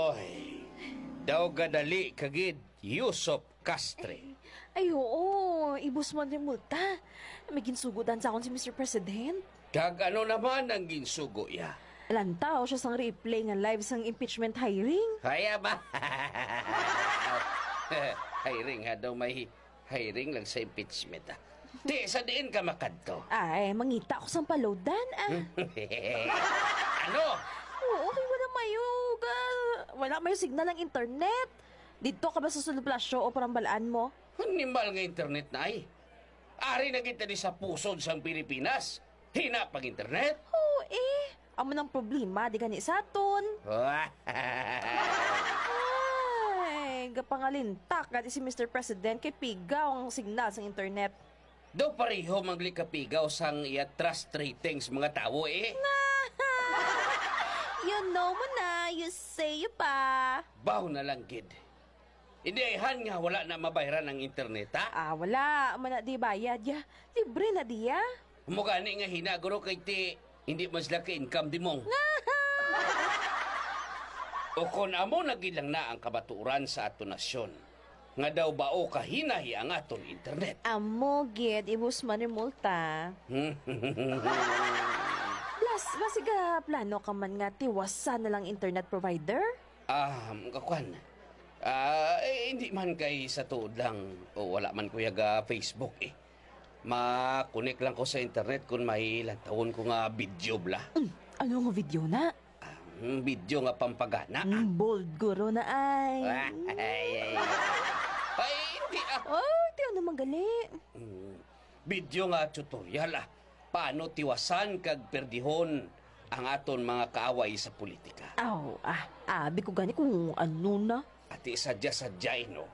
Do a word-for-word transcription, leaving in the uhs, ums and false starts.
Oy, daw gadali ka gid, Yusop Castre. Ay, oo, i-Boss Wonder Multa. May ginsugo dan sa akon si Mister President. Kag ano naman ang ginsugo iya? Lantaw siya sang replay nga live sang impeachment hearing. Kaya ba? Hearing ha daw, may hearing lang sa impeachment, ah. Ti, sa diin ka makadto? Ay, mangita ako sang palodan, ah. Ano? Oo, kay wala mayo ga, wala mayo signal ang internet. Dito ka ba sa Sulod Palacio o parambalaan mo? Animal nga internet na ay. Ari na kita di sa pusod sang Pilipinas. Hina pag internet? Oo, eh. Amo nang problema, di gani sa aton. Ay, gapangalintak gani si Mister President kay pigaw ang signal sang internet. Daw pareho man gali kapigaw sang iya trust ratings mga tawo, eh. You know mo na, you say you pa. Baw na lang gid. Hindi ayhan nga wala na mabayran ang internet, ha? Ah, wala man na di bayad, ya. Libre na diya. Amo gani nga hina, guro, kay ti hindi man sila ka-income, Dimong. O kon amo na gid lang na ang kamatuoran sa aton nasyon, nga daw bao kahinahi ang aton internet. Amo gid, i-Boss Wonder Multa. Plus, basi ga plano ka man nga tiwasan na lang internet provider? Ah, kakwan. Ah, eh, hindi man, kay sa tuod lang, o, wala man ko yaga Facebook, eh. Ma-connect lang ko sa internet kung may lantawon ko nga video bala. Mm, ano nga video na? Ah, mm, video nga pampagana, ah. Mm, bold guro na ay. Ay, ay, ay. Ay, hindi, ah. Oh, ti ano man gali? Mm, video nga tutorial, ah. Paano tiwasan kag perdihon ang aton mga kaaway sa politika? Aw, ah, abi ko gani kung ano na. Ati sadya-sadya, eh, no?